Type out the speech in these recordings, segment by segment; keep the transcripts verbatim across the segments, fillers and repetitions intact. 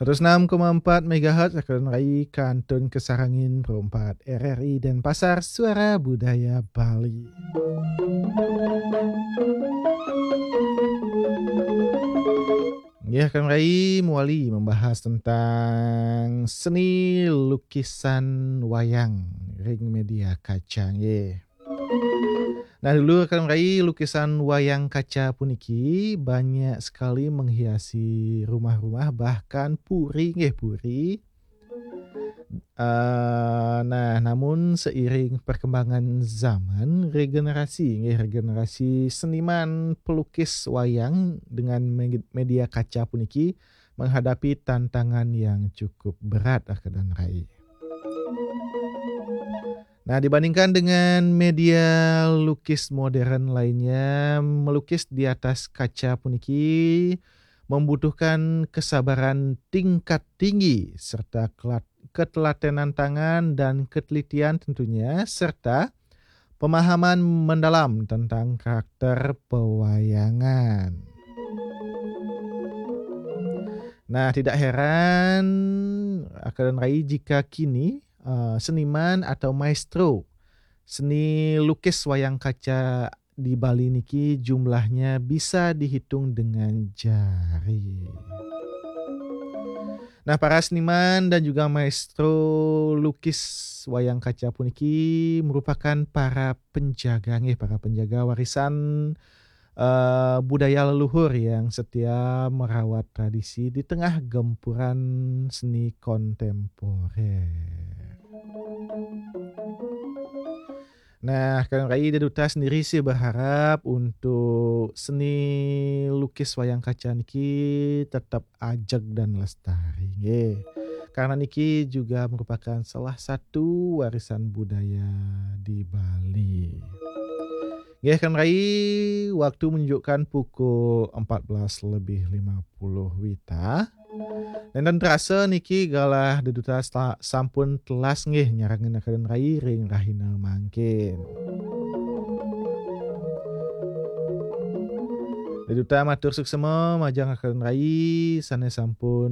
Terus enam koma empat megahertz, Akademi Rai, kantun kasarangin Pro empat R R I Denpasar, Suara Budaya Bali. Nggih, Akademi Rai mawali membahas tentang seni lukisan wayang ring media kaca, nggih. Nah, dulu Akademi Rai, lukisan wayang kaca puniki banyak sekali menghiasi rumah-rumah, bahkan puri, nggih, puri. Eh, nah, namun seiring perkembangan zaman, regenerasi, nggih, regenerasi seniman pelukis wayang dengan me-, media kaca puniki menghadapi tantangan yang cukup berat, Akademi Rai. Nah, dibandingkan dengan media lukis modern lainnya, melukis di atas kaca puniki membutuhkan kesabaran tingkat tinggi serta kelat-, ketelatenan tangan dan ketelitian tentunya, serta pemahaman mendalam tentang karakter pewayangan. Nah, tidak heran, Akademi Rai, jika kini, eh, seniman atau maestro seni lukis wayang kaca di Bali niki jumlahnya bisa dihitung dengan jari. Nah, para seniman dan juga maestro lukis wayang kaca puniki merupakan para penjaga, nggih, para penjaga warisan, eh, budaya leluhur yang setia merawat tradisi di tengah gempuran seni kontemporer. Nah, Akademi Rai, Ida Duta sendiri sih berharap untuk seni lukis wayang kaca niki tetap ajeg dan lestari, nggih. Karena niki juga merupakan salah satu warisan budaya di Bali. Nggih, Akademi Rai, waktu menunjukkan pukul empat belas lebih lima puluh wita. Nénten terasa niki galah Ida Duta sela-, sampun telas, nggih, nyarengin Akademi Rai ring rahina mangkin. Ida Duta matur suksma majeng Akademi Rai sané sampun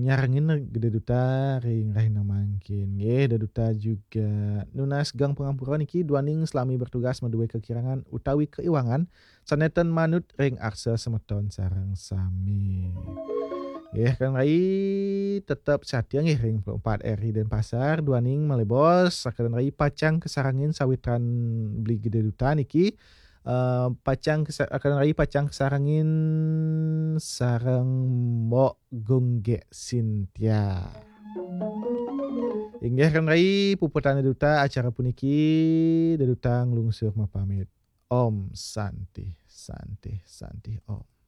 nyarengin Ida Duta ring rahina mangkin. Nggih, Ida Duta juga nunas geng pangampura niki duaning salami bertugas madué kakirangan utawi kaiwangan sané ten manut ring arsa semeton sareng sami. Nggih, Akademi Rai tetep satia, nggih, ring Pro empat R I Denpasar, duaning malih bos, Akademi Rai pacang kasarengin sawitran beli Ida Duta niki, eh, pacang kasa-, Akademi Rai pacang kasarengin sareng Mbok Gunggek Sintia. Inggih, Akademi Rai, puputang Ida Duta acara puniki, Ida Duta nglungsur mapamit. Om Santi, Santi, Santi, Om.